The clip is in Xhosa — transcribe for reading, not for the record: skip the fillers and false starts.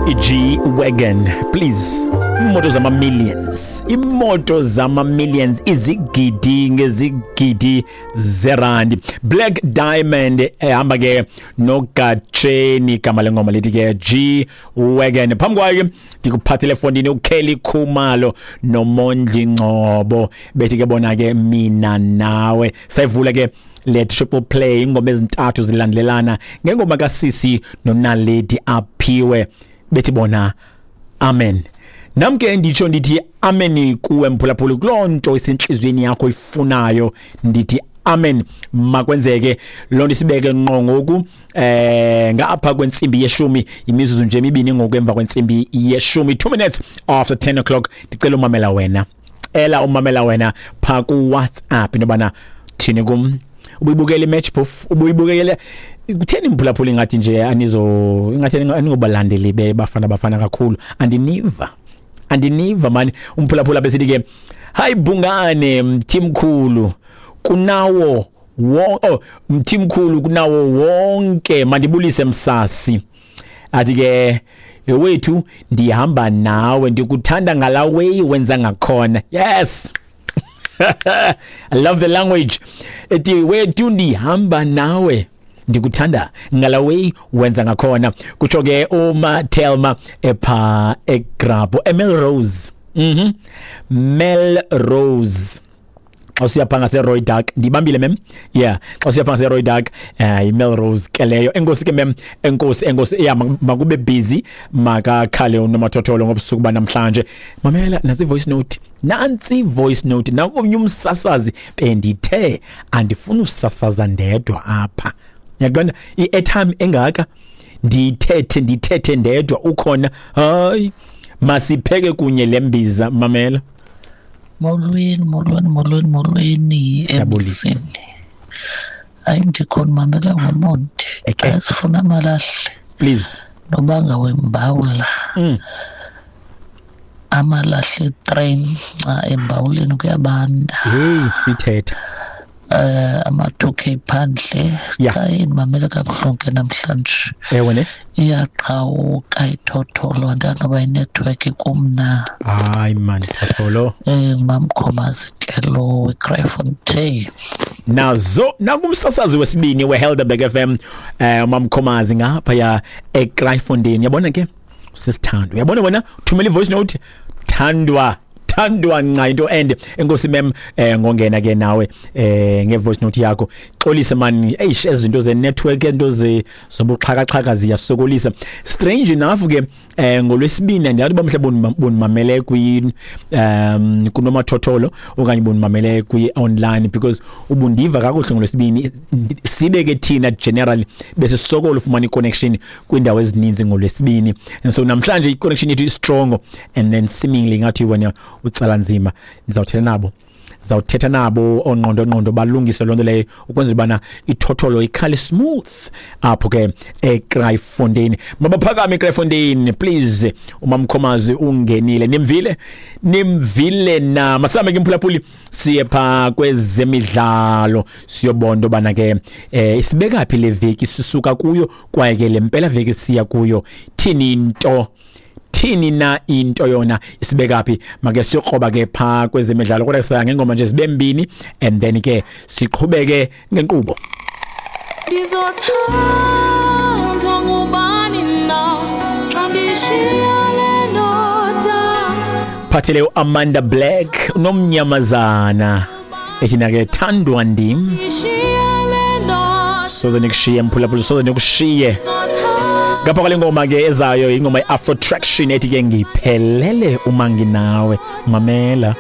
I-G-Wagon, please. Imoto zama-millions, imoto zama-millions, izigidi ngezigidi zerandi. Black Diamond ehamba ke noGatsheni, igama lengoma lithi ke G-Wagon. Phambi kwayo ke ndikuphathele efondini uKelly Khumalo noMondli Ngcobo, bethi ke bona ke Mina Nawe. Sayivula ke le triple play, ingoma ezintathu zilandelelana ngengoma kaSisi noNaledi Aphiwe, bethi bona Amen. Nam ke nditsho ndithi amen kuwe mphulaphuli, kuloo nto isentliziyweni yakho ifunayo, ndithi amen, makwenzeke loo nto. Isibeke ngqo ngoku ngapha kwentsimbi yeshumi, imizuzu nje emibini ngoku emva kwentsimbi yeshumi, 2 minutes after 10 o'clock. Ndicela umamela wena, cela umamela wena phaa kuWhatsApp into yobana thini kum. Ubuyibukela imatch phofu? Ubuyibukele? Kutheni mphulaphula ingathi nje anizo, ingathi aningobalandeli beBafana Bafana kakhulu? Andiniva, andiniva mani. Umphulaphula besithi ke, hayi Bhungane, mthimkhulu kunawo wo, oh, mthimkhulu kunawo wonke, mandibulise msasi. Athi ke, wethu ndihamba nawe, ndikuthanda ngala way wenza ngakhona. Yes, I love the language. Ethi wethu ndihamba nawe, ndikuthanda ngala way wenza ngakhona. Kutsho ke uma Thelma epha eGrabho, eMelrose. Melrose, xa usiya phaa ngaseRooidak. Ndibambile mem? Yeah, xa usiya phaa ngaseRooidak, iMelrose ke leyo. Enkosi ke mem, enkosi, enkosi. Yeah, makube busy, makakhale unomathotholo ngobusuku banamhlanje. Mamela nantsi voice note, nantsi voice note, nakomnye umsasazi. Bendithe andifuni usasaza ndedwa apha, yaqonda, i-airtime engaka ndiyithethe, ndithethe ndedwa ukhona. Hayi, masipheke kunye le mbiza. Mamela. Molweni, molweni, molweni, molweni. Siyabulisa. Emzini. Hayi, ndikhona, mamela ngomonde. Eke. Asifuna amalahle. Please. Nobanga wembawula. Amalahle train xa embawuleni kuyabanda. Hey, sithetha. Ama 2K phandle. Xa indimamele kabuhlungu ke namhlanje. Ewe ne. Iyaqhawuka ithotholo, andazi noba inetwork kum na. Hayi man, thotholo. Ngumamkhomazi ke lo weKraaifontein. Nazo nakumsasazi wesibini weHelderberg FM, umamkhomazi ngapha ya eKraaifontein. Yabona ke sisithando, uyabona wena, thumela ivoice note, thandwa, thandwa nca into and enkosi mem, ngongena ke nawe ngevoice note yakho. Xolise man, eish, ezinto ze network, into ze zobuxhakaxhaka ziyasokolisa. Strange enough ke ngolwesibini, andiyazi uba mhlawumbe bonimamele kwi kunomathotholo okanye bonimamele kwi online, because ubundiva kakuhle ngolwesibini. Sibe ke thina generally bese sokola ufumana i-connection kwiindawo ezininzi ngolwesibini, and so namhlanje i-connection yethu is-strong and then seemingly ngathi wena utsala nzima. Ndizawuthetha nabo, zawuthetha nabo ongqondo ngqondo, balungise loo nto leyo ukwenzela ubana ithotholo ikhale smooth apho ke eKraaifontein. Mabaphakame eKraaifontein, please. Umamkhomazi ungenile, nimvile, nimvile na? Masambe ke mphulaphuli, siye pha kwezemidlalo, siyobona into yobana ke isibeka phi le veki sisuka kuyo, kwaye ke le mpela veki siya kuyo thini into, thini na into yona, isibeka phi. Make siyokroba ke pha kwezemidlalo, kodwa saya ngengoma nje zibe mbini and then ke siqhubeke ngenkqubo. Ndizothandwa ngubani na xa ndishiya le ndoda? Phathele uAmanda Black unomnyamazana, ethi na ke Thandwa Ndim. Ndishiya le ndoda. Soze nikushiye mphulaphula, soze nikushiye. Ngapha kwale ngoma ke ezayo, ingoma i-Afro Traction ethi ke Ngiphelele Uma Nginawe. Mamela.